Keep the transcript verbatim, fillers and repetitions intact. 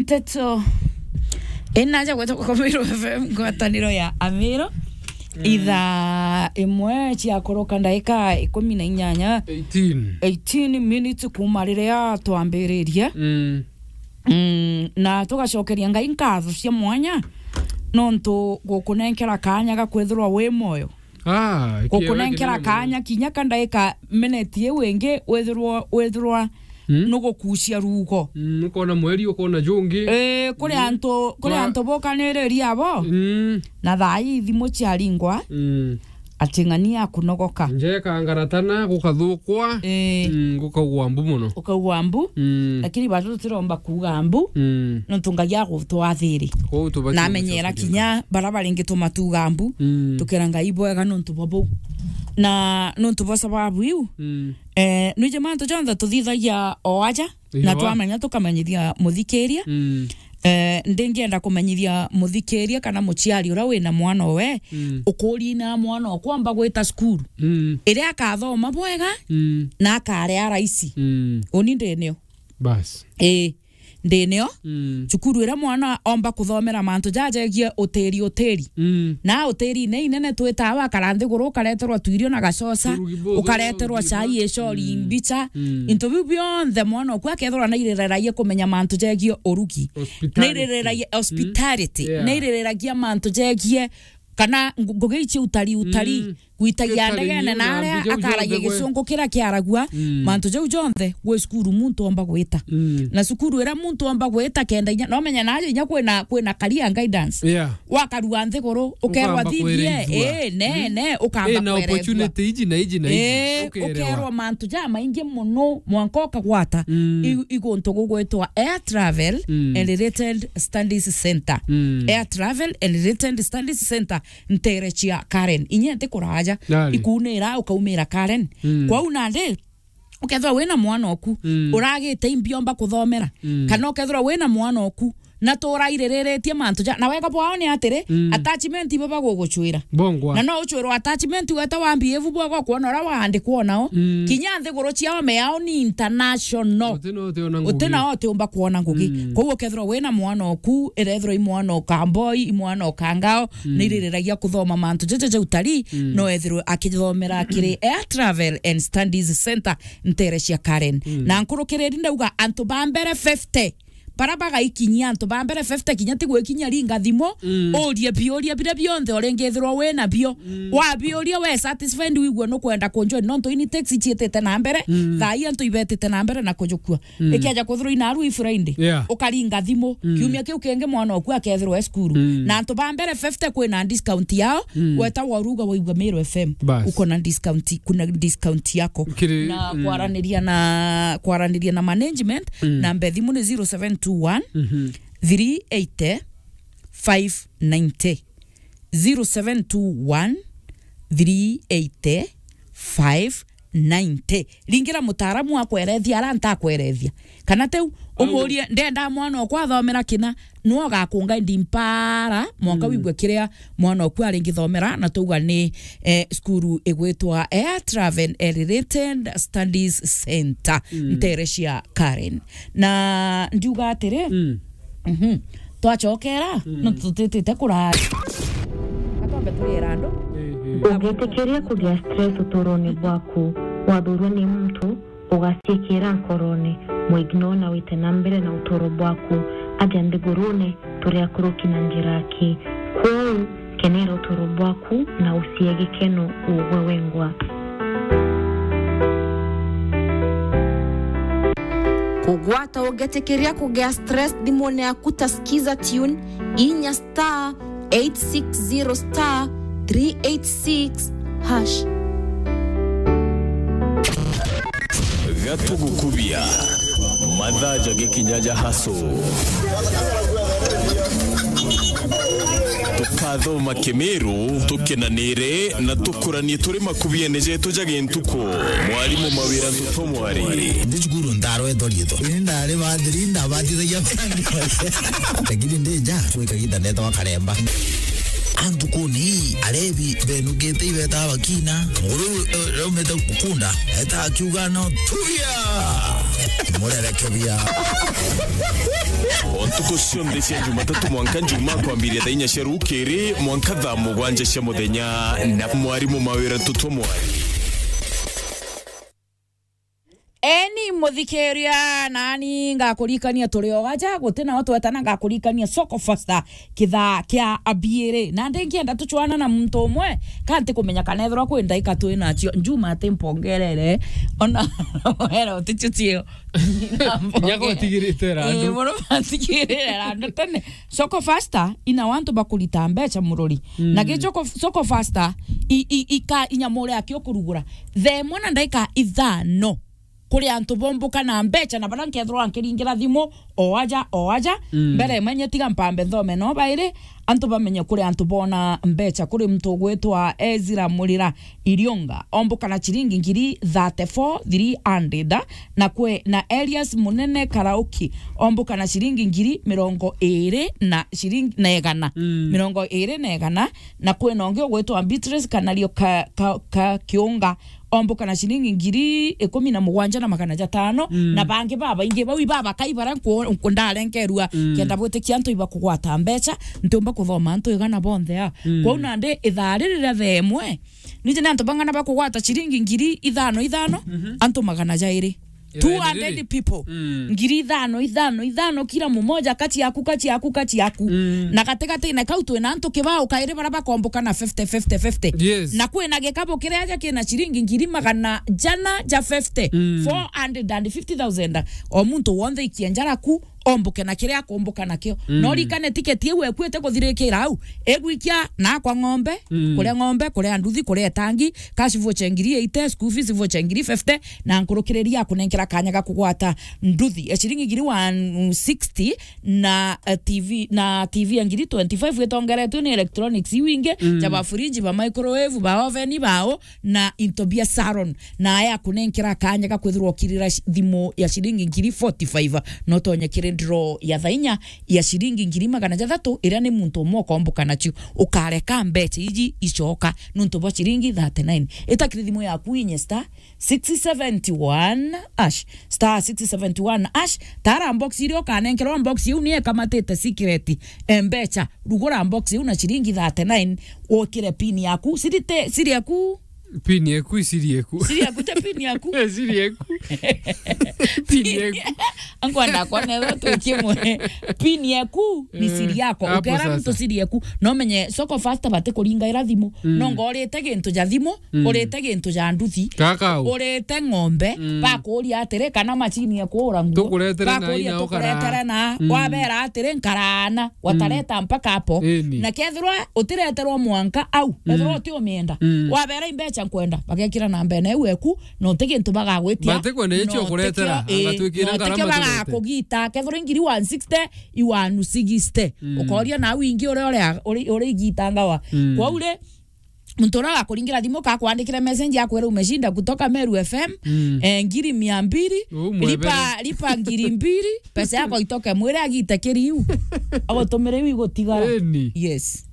Nteto inaja gwetwa kwa Meru F M, ngwataniro ya Amiru. Mm. Ithaa imwe ciakoroka ndaika ikumi na inyanya. Eighteen. Eighteen minutes kuma riria twambiririe. Mm. Mm, na tugacokeria Ngai nkatho cia mwanya nontu gukunenkera kanya ga kwithirwa wi moyo. Ah, gukunenkera kanya kinya ka ndaika minute iu ingi withirwa, withirwa Mm. nugukucia rugo. Mm, ukona mweri, ukona jungi. Eh, kuri Mm. antu, kuri Kwa- antu bokaniriria abo. Mm. Na thaa ii thimu ciaringwa, Mm. ati ng'ani akunogoka. Njeka ngaratana gukathukwa. Eh. Mm, gukaugwa mbu muno. Ukaugwa mbu, Mm. lakini bado tutiromba kuuga mbu, Mm. nontu Ngai agutwathiri. Kwou tubati Na amenyera gucokeria kinya bara baringi tumatuga mbu, Mm. tukera Ngai bwega nontu bwa bau. Na nontu bwa sababu iu, Mm. Eh, nwiji mantu jonthe tuthithagia o aja, na Iwa. twamenya tukamenyithia muthikiria. Mm. Eh, ndingienda kumenyithia muthikiria kana muciari uria wina mwana owe, Mm. ukuri na mwana okwamba gwita cukuru. Mm. Iria akathoma bwega, Mm. na akaria raisi. Mm. Uni ndinio. Bas. Ii. Ndinio, Mm. cukuru iria mwana omba kuthomera mantu jajegie utiri, utiri. Mm. Na utiri-ini inene twitaa wakara nthiguru, ukareterwa twirio na gacoca, Urugi buthu, ukareterwa urugi cai bwa- icori, Mm. mbicha. Mm. Into biu bionthe mwana oku akethirwa nairereragia kumenya mantu jegie urugi. Hospitality. Nairereragia Mm. hospitality. Yeah. Nairereragia mantu jegie kana ngu-, ngugi ici utari, utari. Mm. Gwitagia Catering ndegene iu na na aria mbicha iu akaragia cionthe gwe. Gicungu kiria kiaragua, Mm. mantu jau jonthe gwi cukuru muntu omba gwita. Mm. Na cukuru iria muntu omba gwita kenda inya, no menya naja inya kwina, kwina career guidance. Yeah. Wakarua nthiguru, ukerwa Ukamba thithie, kwirithua. Ii, ne, Mm. ne, ukamba Ii, na kwerethua. Opportunity iji na iji na iji. Ii, Ukerewa. Ukerwa mantu ja maingi muno, mwanka ukagwata. Mm. I-, iguntu gugwitwa Air Travel Mm. and Related Studies Center. Mm. Air Travel and Related Studies Center. Ntere cia Karen. Inya nti kuraja. Nari. Ikunira ukaumira Karen. Mm. Kwou nandi, ukethirwa wina mwana oku, Mm. uragite imbi omba kuthomera. Mm. Kana ukethirwa wina mwana oku, na turairiritie mantu ja, na wega bwao ni atiri, Mm. attachment ibo bagugucwira. Bongwa. Na no ucwirwa attachment weta wambi ibu bwega kwona uria waandikwa nao. Mm. Kinya nthiguru ciao me yao ni international. Uti no utiona ngugi. Uti nao utiumba kwona ngugi. Mm. Kwou ukethirwa wina mwana oku, irethirwa i mwana o Kamboi, i mwana o Kangao, Mm. ni iririragia kuthoma mantu jaja ja utari, Mm. no ethirwe akithomera kiri Air Travel and Studies Center ntere cia Karen. Mm. Na nkurukiriri ndauga antu ba mbere fifty, bara bagaikinyia antu ba mbere fifty kinya ti gwikinyia ringa thimu, Mm. urie biuria biria bionthe uringithirwa wi nabio. Mm. Wabiuria we satisfied, wigua nukwenda kunjoin, nontu ini taxi ciitite na mbere, Mm. thaa ii antu ibetite na mbere na kujukua. Mm. Ikiaja kwithirwa inaru i Friday, Yeah. ukaringa thimu. Mm. Kiumia kiu kingi mwana oku akethirwa e cukuru. Mm. Na antu ba mbere fifty kwina discount yao, Mm. weta waruga waigua Meru F M. Bas. Uko na discount, kuna discount yako. Kiri-, Na mm. kwaraniria na, kwaraniria na management, Mm. namba ya thimu ni zero seven two one, Mhm. three eighty, five ninety. Zero seven two one, three eighty, five ninety. Ringira mutaaramu akwerethia ara ntakwerethia. Kana teu, umurie, "Ndenda mwana okwa athomera kina?" Nwe ugakunga ndi mpara, mwanka Mm. wigue kiria mwana oku aringithomera, na twauga ni, eh, cukuru igwitwa Air Travel and Related Studies Center, Mm. ntere cia Karen. Na ndiuga atiri, Mm. Mhm. Twacokera, Mm. no tutitite kurara. Atwambe turiera andu. Eh, eh. Ungitikiria kugia stress uturone bwaku, wathurwa ni muntu, ugaciikira nkorone, muignore na wite na mbere na uturo bwaku, aja nthigurune, turi akuruki na njira aki. Kwou, kenera uturo bwaku na ucie gikeno ugwe wengwa. Kugwata ugetikiria kugia stress thimune yaku ta Skiza Tune, inya star eight six zero star three eight six hash. Gatugukubia. Mathaa jagikinya ja haso. Tukathoma Kimiru, tukenanire na tukuranie turi makubiene jetu ja gintuku. Mwarimu Mawira Ntuto Mwari. Ndi cukuru ndarwetwo riitwa. Ini ndari bathiri, ndabathithagia. Lakini ndi nja, gwi kaginda ndetagwa Karemba. Antukuni, arebi benugite ibeta bakina. Nguru, eh, raumite kunda, eta akiuga no tuya. Murereke bia. O ntuku cionthe cia Jumatatu mwanka Njuma kwambiria thaa inya cia rukiri mwanka thaa mugwanja cia muthenya na mwarimu mawira tutwa mwari. Eni muthikiria, nani ngakurikania turi o aja, guti nao twetana, ngakurikania Soko Fasta kithaa kia abiiri. Na ndi nkienda tuchwana na muntu umwe, ka ntikumenya kana ethirwa kwi ndaika twi nacio. Njuma ati mpongerere, ona wera uticio cio. Nya gutigirite randu. Eh, muno matigirire randu tene. Soko Fasta ina wantu bakurita mbeca murori. Mm. Na gi Soko, Soko Fasta i, i, ika inyamure aki ukurugura. Thaa imwe na ndaika ithano. Kuri antu bombuka na mbeca na bara nkethirwa nkiringira thimu o aja, o aja. Mm. Mbere manye tiga mpambe nthome no bairi, antu bamenye kuri antu bona mbeca. Kuri muntu ugwitwa Ezra Murira Irionga, ombuka na ciringi ngiri thirty-four three hundred, na kwi na Elias Munene Karauki, ombuka na ciringi ngiri mirongo iri na ciringi na igana. Mm. Mirongo iri na igana, na kwi na ungi ugwitwa Beatrice Kanario ka, ka, ka Kiunga, ombuka na ciringi ngiri ikumi na mugwanja na magana jatano, mm, na bangi babaingi bau ibabakai bara nku-, nku-, ndarenkerua, mm, kenda bwitikia antu ibakugwata mbeca, ntiumba kuthoma antu igana bonthe a. Mm. Kwou nandi ithaa riri ria thaa imwe, nije ni antu bang'ana bakugwata ciringi ngiri ithano ithano, mhm, antu magana jairi. Two hundred people. Mm. Ngiri ithano, ithano, ithano, kila mmoja kati yaku, kati yaku, kati yaku. Mm. Na gatigati-ini kau twina antu kibao kairi bara bakomboka na fifty, fifty, fifty. Yes. Na kwina gikabu kiria aja kina ciringi ngiri magana jana ja fifty, mm, four hundred and fifty thousand. O muntu wonthe ikia njara ku, omboke na kiria akomboka nakio. Mm. No rikane tiketi iu ekuite kuthirikira au, egwikia na akwa ng'ombe, mm, kuria ng'ombe, kuria nduthi, kuria itangi, cash voucher ngiri eighty, school fees voucher ngiri fifty, na nkurukiriria akunenkera kanya ga kugwata nduthi ya ciringi ngiri one sixty na, eh, T V, na T V ya ngiri twenty-five itongeretwe ni electronics iu ingi, mm, ja ba fridge, ba microwave, ba oven, bao, na into bia salon. Na aya akunenkera kanya ga kwithirwa ukirira shi-, thimu ya ciringi ngiri forty-five, no tonye kiri draw ya thaa inya ya ciringi ngiri magana jathatu, iria ni muntu umwe ukomboka nacio. Ukareka mbeca iji icoka nuntu bwa ciringi thirty-nine. Ita kiri thimu yaku inye star six seventy one hash, star six seventy one hash. Tara box iria ukanenkerwa, box iu ni ikamatite secret. E, mbeca, rugura box iu na ciringi thirty-nine, wokire pin yaku. Siri te, siri yaku? Pin yaku, siri yaku. Siri yaku, te pin yaku? Eh, siri yaku. Pin yaku. Ankwenda kwona ethwa twi kimwe. Pin yaku ni, eh, siri yako. Hapo ukera muntu sasa siri yaku. No menye Soko Fasta bati kuringaira thimu. Mm. No ngorite gintu ja thimu, mm, urite gintu ja nduthi, kakau, urite ng'ombe, mm, bakuria atiri kana macini ya kuura nguo, tukuretere na bakuria ina tukuretere ukara na, mm, wabera atiri nkarana, mm, watareta mpaka hapo. Eni. Na kethirwa utireterwa mwanka au, mm, ethirwa uti umienda, mm, wabera imbeca nkwenda, bagekira na mbene iu eku, no ti gintu bagagwitia. Batikwenda icio no kuretera, tikio, ii, angatwikira no ngarama tikio tukurete. Bagakugita, kethirwa ingiri one sixty, iwanu sixty. Mm. Ukoria na wingi uria, uria, uri, uri igita ngawa. Mm. Kwou ri, muntu uria agakuringira thimu, kakwandikire message, akwira umeshinda kutoka Meru F M, mm, eh, ngiri mia mbiri, umwebere, lipa, lipa ngiri mbiri, pesa yako itoke, mwire agite kiriu. Agutumire iu igutigara. Eni. Yes.